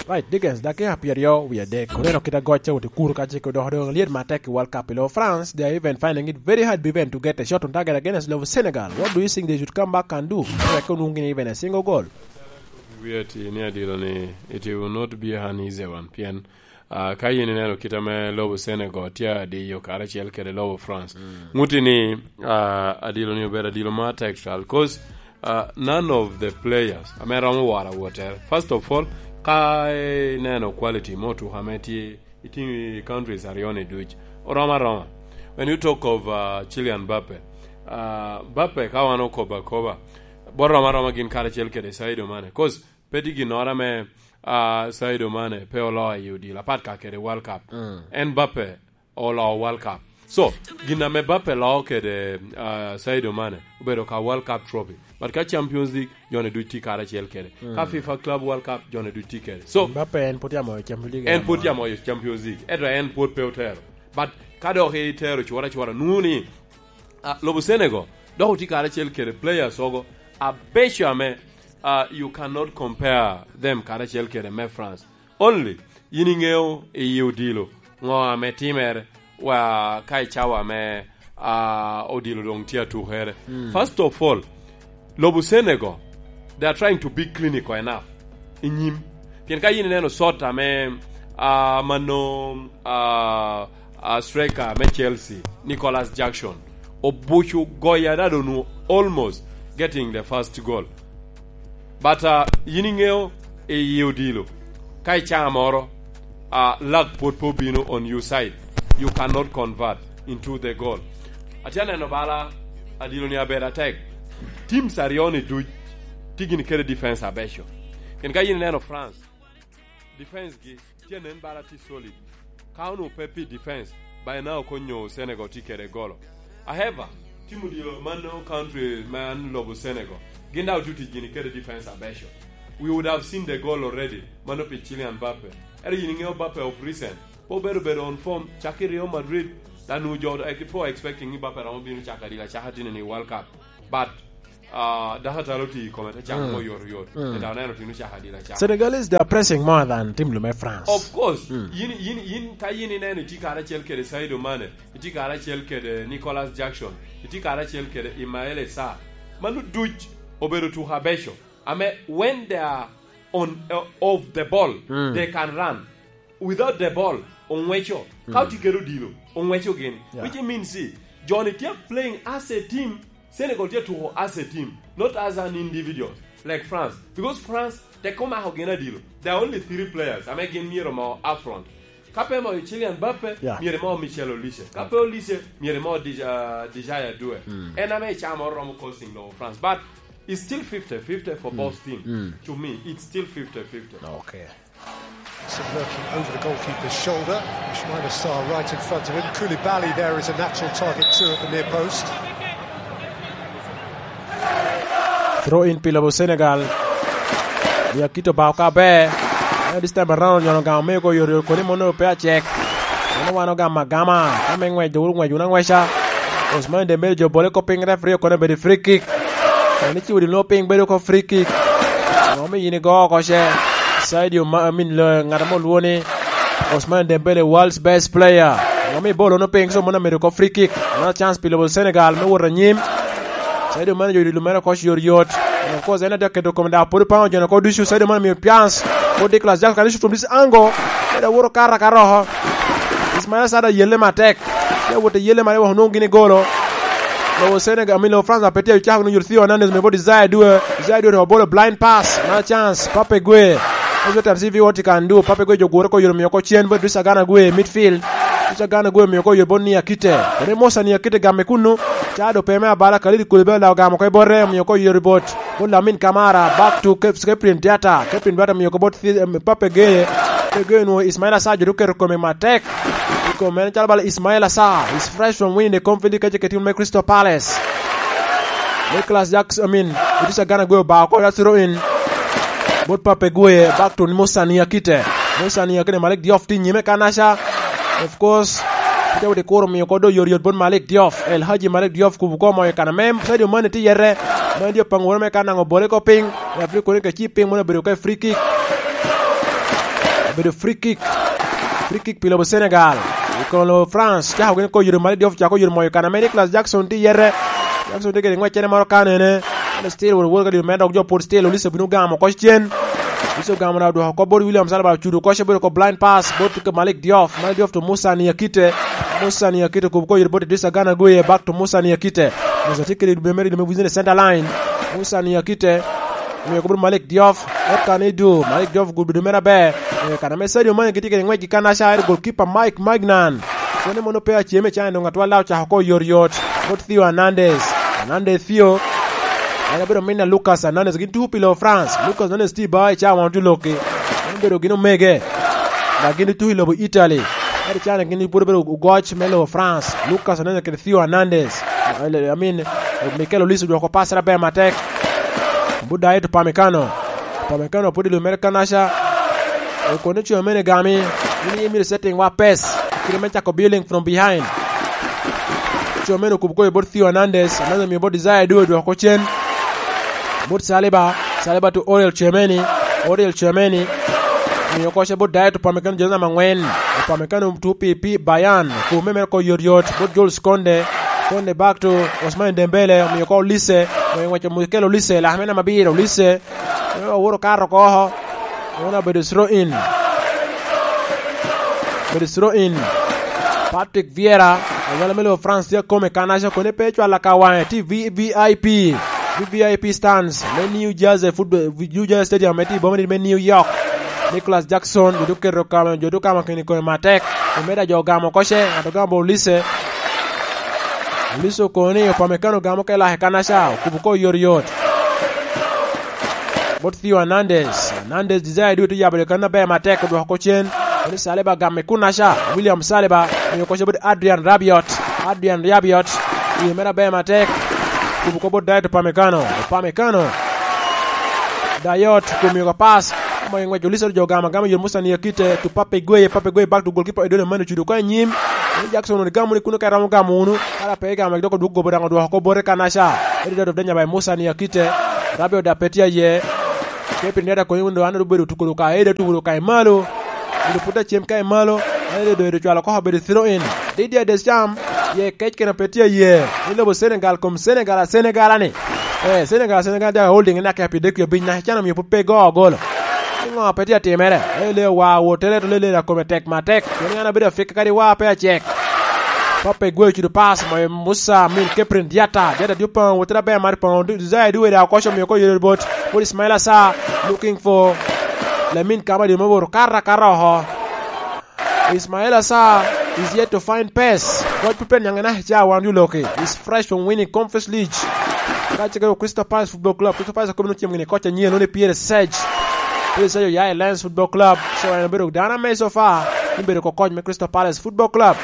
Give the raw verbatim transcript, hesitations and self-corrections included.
Right, Dickens, dakika pyeraryo wie adek. Oneno kit agoc ca wot i kuro ka cik odoko doŋ lyet matek i World Cup i lobo France. They are even finding it very hard even to get a shot on target against lobo Senegal. What do you think, they should come back and do? Wek onwoŋ gin even a single goal. Wie ti ni adilo ni it will not be an easy one, pien, ah, ka yin ineno kit ame lobo Senegal tye adiyo karacel kede lobo France. Mm. Ŋuti ni, ah, adilo ni obedo adilo ma tactical, 'cause, ah, none of the players ame romo woro awottere. First of all, ka ineno quality me otuko ame tye i team, i countries aryo ni duc, oromo aroma. When you talk of, ah, Kylian Mbappe, ah, Mbappe ka wan okobo akoba, bot oromo aroma gin karacel kede Sadio Mane. 'Cause pe tye ginnoro ame, ah, Sadio Mane pe oloo i odilo, apat ka kede World Cup. Mm. En Mbappe oloo World Cup. So, gin ame Mbappe loo kede, ah, Sadio Mane obedo ka World Cup trophy. But ka Champions League, jone duc tye karacel kede. Mm. Ka FIFA Club World Cup, jone duc tye kede. So, Mbappe en pwod tye amoyo Champions League, en put ya moyo Champions League. Ento en pwod pe otero. But ka dok itero cura cura, nwoŋo ni, ah, lobo Senegal dok otye karacel kede players ogo abeco ame, ah, you cannot compare them karacel kede me France. Only yin iŋeo i odilo ŋo ame timere, wa ka i cawa ame, ah, odilo doŋ tye atukere. Mm. First of all, lobo Senegal, they are trying to be clinical enough i nyim. Pien ka yin ineno shot ame, ah, mano, ah, ah, striker me Chelsea, Nicolas Jackson, obuco goyo adada onwoŋo almost getting the first goal. But, uh, yin iŋeo i odilo, ka i caa moro, uh, luck pwod pe obino on your side, you cannot convert into the goal. Atye aneno bala adilo ni abedo atek. Teams aryo ni duc tye gini kede defense abeco. Pien ka yin ineno France, defense gi tye nen bala tye solid. Ka onwoŋo pe pi defense, by now konyo Senegal tye kede golo. However, team odilo mano country man lobo Senegal, gin daŋ otuti gini kede defense abeco. We would have seen the goal already, mano pi Kylian Mbappe. Ero yin iŋeo Mbappe of recent, pe obedo bedo on form, cak i Real Madrid, dan onwoŋo jo, eh, pe expecting ni Mbappe romo bino cako adila caka tino ni World Cup. But, uh, dako atalo oti i kome te cako mo yot yot. Mm. Ento aneno tino cako adila caka. Senegalese, they are pressing more than team lume France. Of course, mm, yin, yin, yin, ka yin ineno itye karacel kede Sadio Mane, itye karacel kede Nicolas Jackson, itye karacel kede Ismaila Sarr, mano duc obedo tuko abeco. Ame when they are on, uh, of the ball, mm, they can run. Without the ball, ong'weco. Ka otye kede odilo, ong'weco gin. Yeah. Which means, see, joni tye playing as a team. Senegal tye tuko as a team, not as an individual, like France. Because France, tek omako gin adilo. There are only three players ame gin myero mo up front. Ka pe mo Kylian Mbappe, yeah, myero mo Michel Olise. Ka pe Olise, myero mo Dej-, uh, Dejaya Due. Mm. En ame i caa moro romo causing lobo France. But it's still fifty fifty for both teams. Mm. To me, it's still fifty fifty. Okay. Some lurking over the goalkeeper's shoulder. Ismaila Sarr right in front of him. Koulibaly there is a natural target too at the near post. Throw in pi lobo Senegal. Yakito bao ka ber. Eh, this time around, nyono gamo me go yori koni mono pe acek. Mono wan ogamo agama. Ka me ngwec, dok ngwec wun angweca. Ousmane Dembele jo bole ko piny, referee okono bedo free kick. Eni ciwo dino piny bedo ko free kick. Ngo mi yin igo oko ce? Sadio Ma-, I mean, lo-, ngat mo lwo ni Ousmane Dembele, world's best player. Ngo mi bolo no piny, so mono medo ko free kick. Another chance pi lobo Senegal me wot anyim. Sadio Mane jo dilo mere ko yot yot. And of course, en adek keto kome da pwod pango jone ko ducu. Sadio Mane miyo chance. Ko Nicolas Jackson, this from this angle. Medo wuro kara ka roko. Ismaila Sarr yelle matek. Te wot i yelle mare wok onwoŋo gini golo. Lobo Senegal, I mean, lobo France pe tye acako nwoŋo Theo Hernandez me bot Desire Due. Desire Due to bolo blind pass. Na chance, Pape Gueye. Ose tam C V what he can do. Pape Gueye jo gure ko yoro miyo ko cen bot Idrissa Gana Gueye, midfield. Idrissa Gana Gueye miyo ko yoro bot Niakite. Kone Musa Niakite gamme kunu. Cado pe me abala Khalid Koulibaly lao gamo ko i bote, miyo ko yoro bot. Bot Lamine Camara, back to Cap-, Cyprian Diatta. Cyprian Diatta miyo ko bot Thi-, em, Pape Gueye. Pape Gueye nwoŋo Ismaila Sarr jo oketo kome matek. I kom en calo bala Ismaila Sarr is fresh from winning the Conference League kece kede team me Crystal Palace. Nicolas Jackson, I mean, Idrissa Gana Gueye obao ko, that's throw in. Bot Pape Gueye, back to Musa Niakite. Musa Niakite, Malik Diouf tye i nyime kanaca. Of course, te wot i kuro miyo ko do yot yot bot Malik Diouf. El Hadji Malik Diouf kubo ko moyo kana mem. Sadio Mane tye yete. Mane Diouf pango woro me kan naŋo bole ko piny. Referee kono ka ci piny mono obedo ka free kick. Obedo free kick. Free kick pi lobo Senegal. I kono lobo France, cako gin ko yero Malik Diouf, cako yero moyo kan ame Nicolas Jackson tye yete. Jackson tye kede ngweccere moro kanene. Still won woro ka dino mere dok jo pwod still, Olise obino gamo koc cen. Olise ogamo na odwoko kop bot William Saliba, ocudo koc obedo ko blind pass bot Malik Diouf. Malik Diouf to Musa Niakite. Musa Niakite okubo ko yero bot Idrissa Gana Gueye, back to Musa Niakite. Musa tye kede dube mere, dube mere within the center line. Musa Niakite. Omio kop bot Malik Diouf. Eka ni du, Malik Diouf gudo mere aber. Eh, kan ame Sadio Mane gitye kede ngwec gi kanaca, ero goalkeeper Mike Maignan. Kone mono pe aceme can dong atwal, ocako ko yot yot. Bot Theo Hernandez. Hernandez Theo. En obedo min a Lucas Hernandez. Gin tuko pi lobo France. Lucas Hernandez tye i bar i cawa wan tye lokki. En obedo gin omege. Dok gin tuko i lobo Italy. Ento can gin pwod obedo ogoc me lobo France. Lucas Hernandez kede Theo Hernandez. I mean, Mikel Olise odwoko pass aber matek. But Dayot Upamecano. Upamecano pwod i lum mere kanaca. Okone co mene gami. In imito setting wa pes. Kite me cako building from behind. Co mene okubo koyo bot Theo Hernandez. Hernandez omio bot Desire Adoue odwoko cen. Bot Saliba. Saliba to Oriel Tchouameni. Oriel Tchouameni. Omio koce bot Dayot Upamecano, jezi namba angwen. Upamecano tuo pi, pi Bayern. Kume mere ko yot yot. Bot Jules Kounde. Kounde back to Ousmane Dembele. Omio ko Olise. Omio ngweco Mikel Olise. Lak me namba abiro. Olise. Oworo kato oko. Oworo obedo throw in. Obedo throw in. Patrick Vieira, anyalo me lobo France tye akome kanaca kone pe cwal aka wange. Tye V V I P. V V I P stands me New Jersey Football, New Jersey Stadium me tye i boma me New York. Nicolas Jackson, jo duketo kama, jo dukama keni kome matek. Omeda jo gamo koce, ngato gamo Olise. Olise okoni, Upamecano gamo ke lake kanaca, okubo ko yot yot. Bot Theo Hernandez. Hernandez, Desire Adoue tye yabo lekanne aber matek, odwoko ko cen. Eni Saliba gamme kunaca. William Saliba, miyo koca bot Adrian Rabiot. Adrian Rabiot, miyo mere aber matek. Kubo ko bot Dayot Upamecano. Upamecano. Dayot, kumiyo ko pass. Omoyo ngwec Olise jo gamo agama yot Musa Niakite. To Pape Gueye, Pape Gueye back to goalkeeper Edward Manu cudo ko anyim. Ni Jackson woni gamo ni kuno ka romo gamo wunu. Kara pe gamo dok odwoko gobo daŋ odwoko ko bote kanaca. Eri Dayot of Denya by Musa Niakite. Rabiot da pe tye aye. Kepin Dayot akonyo wunu an obedo tuko ka eda tuko ka imalo. Obedo put acem ka imalo. Eri dodo cwalo ko obedo throw in. Didier Deschamps, ye kec kena pe tye aye. Ni lobo Senegal kom Senegal a Senegal ani. Eh, Senegal, Senegal daga holding ina ke pi dek pi abiny na, can omio pe go golo. Ni ŋo pe tye atimere? Eh, le wa wo tere to le le da kome tek matek. Koni an abedo afika kadi wa pe acek. Pape Gueye ocudo pass, moyo Musa, Min Keprin Diata. Diata dyo paŋo, wotere aber mar paŋo. Desire Adoue da okoco omio ko yero bot. Bot Ismail Assar, looking for Lamin Kamara, dino me woro kara kara oko. Ismail Assar is yet to find pace. Koc pe pen nyaŋe na ca wan yu loki. Is fresh from winning Conference League. Ka cege Crystal Palace Football Club. Crystal Palace akobo no cem gini koc anyien, lone Pierre Serge. Pierre Serge oya i Lens Football Club. So en obedo dano ame so far. Ni bedo ko koc me Crystal Palace Football Club.